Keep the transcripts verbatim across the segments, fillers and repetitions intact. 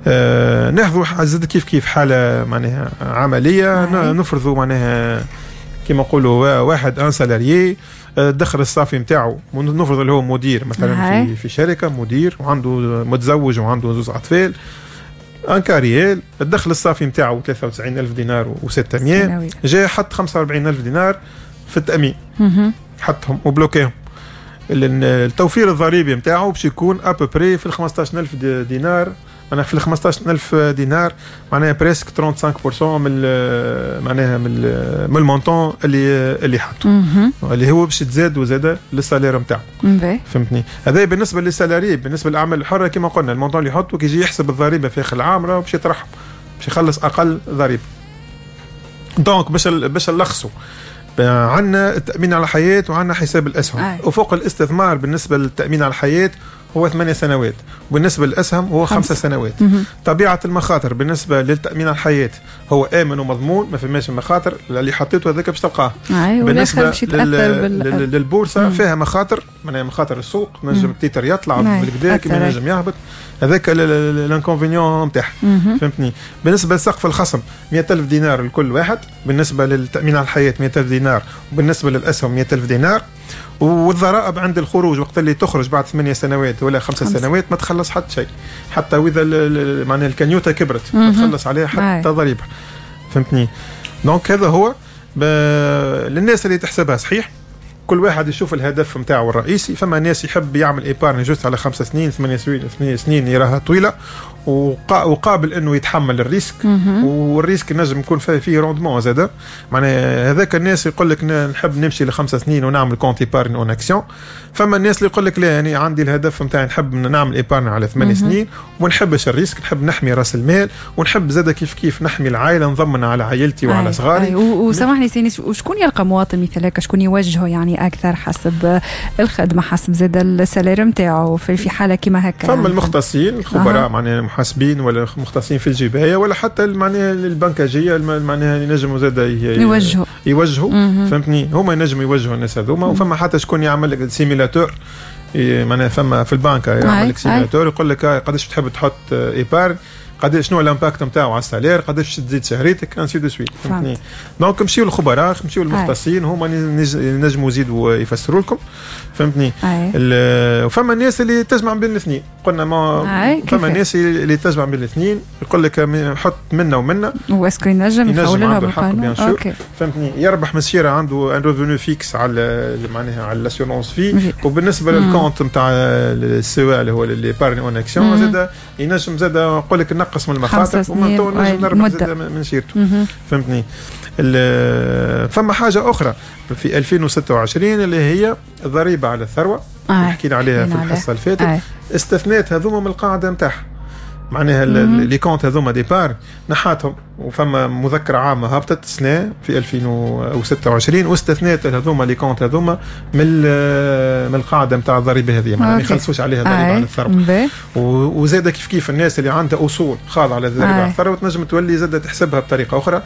آه ناخذوا زاد كيف كيف حاله معناها عمليه، نفرضوا معناها كما نقولوا واحد un salarié، الدخل الصافي نتاعو، نفرض اللي هو مدير مثلا في في شركه، مدير وعنده، متزوج وعنده زوز اطفال، un cas réel، الدخل الصافي نتاعو ثلاثة وتسعين ألف دينار وستمية، جاء حط خمسة وأربعين ألف دينار في التامين، حطهم و bloquاهم. التوفير الضريبي نتاعو باش يكون à peu près في ال خمسطاش ألف دينار، معناها في ال خمسطاش ألف دينار، معناها presque خمسة وثلاثين بالمية من معناها من من ال montant اللي اللي حطه، اللي هو باش تزاد وزاد لل salaire نتاعو، فهمتني؟ هذا بالنسبة لل salarié. بالنسبة للاعمال الحرة كما قلنا، ال montant اللي يحطه كي يجي يحسب الضريبة في اخر العام راه باش يطرحهم، باش يخلص اقل ضريبه. donc باش باش نلخصوا، عندنا التامين على الحياة وعندنا حساب الاسهم. آه. افق الاستثمار بالنسبة للتامين على الحياة هو ثمانية سنوات، وبالنسبة للأسهم هو خمسة, خمسة سنوات. مم. طبيعة المخاطر بالنسبة للتأمين على الحياة هو آمن ومضمون، ما فماش مخاطر، اللي حطيته هذاك باش تلقاه. بالنسبة لل... بال... للبورصة مم. فيها مخاطر، معناها مخاطر السوق، نجم ال titre يطلع بالكدا كما نجم يهبط، هذاك l'inconvénient نتاعها، فهمتني؟ بالنسبة لسقف الخصم مية ألف دينار لكل واحد، بالنسبة للتأمين على الحياة مية ألف دينار، وبالنسبة للأسهم مية ألف دينار. والضرائب عند الخروج، وقت اللي تخرج بعد ثمانية سنوات ولا خمسة سنوات ما تخلص حتى شيء، حتى واذا معناها ال cagnotte كبرت ما تخلص عليها حتى ضريبه، فهمتني؟ donc هذا هو للناس اللي تحسبها صحيح. كل واحد يشوف الهدف نتاعو الرئيسي. فما ناس يحب يعمل épargne juste على خمس سنين، ثمانية سنين، ثمانية سنين يراها طويله، وقابل انه يتحمل ال risque، وال risque نجم يكون فيه فيه rendement زاد. معناها هذاك الناس يقول لك نحب نمشي لخمس سنين ونعمل compte épargne en actions. فما الناس اللي يقول لك لا، يعني عندي الهدف نتاعي نحب نعمل épargne على ثمان سنين وما نحبش ال risque، نحب نحمي راس المال ونحب زاد كيف كيف نحمي العائله، نضمن على عائلتي وعلى صغاري. وسامحني سي أنيس، وشكون يلقى مواطن مثل هكا؟ شكون يوجهه يعني اكثر حسب الخدمه، حسب زاد ال salaire نتاعو في حاله كيما هكا؟ فما المختصين، الخبراء، معناها المحاسبين ولا مختصين في الجبايه ولا حتى معناها البنكاجيه، معناها ينجموا زاد يوجهوا. يوجهوا، فهمتني؟ هما ينجموا يوجهوا الناس هذوما. وفما حتى شكون يعمل لك simulateur، معناها فما في البنك يعمل لك simulateur، يقول لك قداش تحب تحط épargne، قداش، شنو l'impact نتاعو على ال salaire، قداش تزيد شهريتك، ainsi de suite، فهمتني؟ donc مشيو للخبراء، مشيو للمختصين، هما ينجموا يزيدوا يفسروا لكم، فهمتني؟ وفما الناس اللي تجمع بين الاثنين، قلنا ما فما الناس اللي تجمع بين الاثنين، يقول لك حط منا ومنا. و est-ce que ينجم؟ ينجم، عنده الحق bien sûr، فهمتني؟ يربح مسيره، عنده un revenu fixe على معناها على l'assurance vie، وبالنسبة لل compte نتاع ال C E A اللي هو l'épargne en actions زاد ينجم زاد يقول لك نقص من المخاطر ومن تو نجم نربح زاد من شيرته، فهمتني؟ فما حاجة اخرى في ألفين وستة وعشرين اللي هي الضريبة على الثروه، آه. حكينا عليها في الحصة اللي فاتت. آه. استثنات هذوما من القاعدة نتاعها، معناها les comptes هذوما d'épargne نحاتهم، وفما مذكره عامة هبطت سنة في ألفين وستة وعشرين واستثنات هذوما les comptes هذوما من من القاعدة نتاع الضريبة هذه، معناها ما يخلصوش عليها ضريبة على الثروه. وزاد كيف كيف الناس اللي عندها اصول خاضعة للضريبه على الثروة تنجم تولي زاد تحسبها بطريقة اخرى،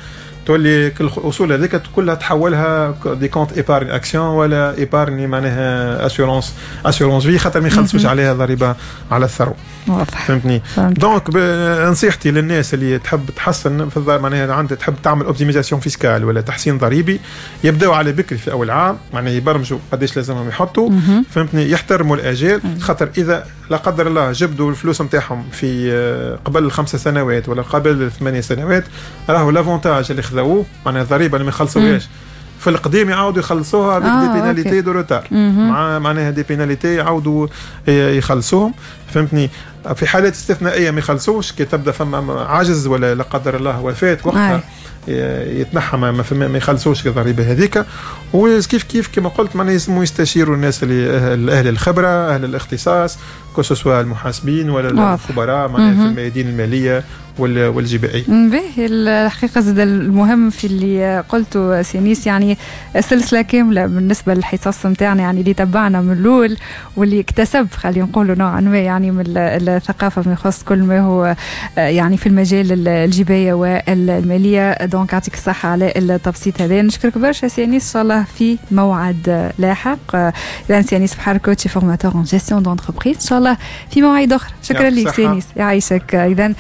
تولي كل الاصول هذيك كلها تحولها des comptes épargne actions ولا épargne معناها assurance assurance vie، خاطر ما يخلصوش عليها ضريبة على الثروه. واضح. فهمتني؟ donc نصيحتي للناس اللي تحب تحسن في معناها عندها تحب تعمل optimisation fiscale ولا تحسين ضريبي، يبداو على بكري في اول عام، معناها يبرمجوا قداش لازمهم يحطوا، فهمتني؟ يحترموا الاجال، خاطر اذا لا قدر الله جبدوا الفلوس نتاعهم في آه، قبل الخمس سنوات ولا قبل الثمانية سنوات، راهو l'avantage اللي خذوه، معناها الضريبة اللي ما يخلصوهاش في القديم، يعاودوا يخلصوها avec des pénalités de retard، مع معناها des pénalités يعاودوا يخلصوهم، فهمتني؟ في حالات استثنائية ما يخلصوش، كي تبدا فما عجز ولا لا قدر الله وفاه، وقتها يتنحى، ما, ما يخلصوش الضريبة هذيك. وكيف كيف كما قلت، معناها يلزموا يستشيروا الناس اللي اهل الخبره، اهل الاختصاص، que ce soit المحاسبين ولا الخبراء معناها في الميادين المالية والجبائيه. باهي، الحقيقة زاد المهم في اللي قلته سي أنيس، يعني سلسلة كاملة بالنسبة للحصص نتاعنا، يعني اللي تبعنا من الاول واللي اكتسب خلينا نقولوا نوعا ما يعني من الثقافة فيما يخص كل ما هو يعني في المجال الجبايه والماليه. donc يعطيك الصحة على التبسيط هذا. نشكرك برشا سي أنيس، ان شاء الله في موعد لاحق. اذا سي أنيس بحر، coach formateur en gestion d'entreprise، ان شاء الله في مواعيد اخرى. شكرا لك سي أنيس، يعيشك. اذا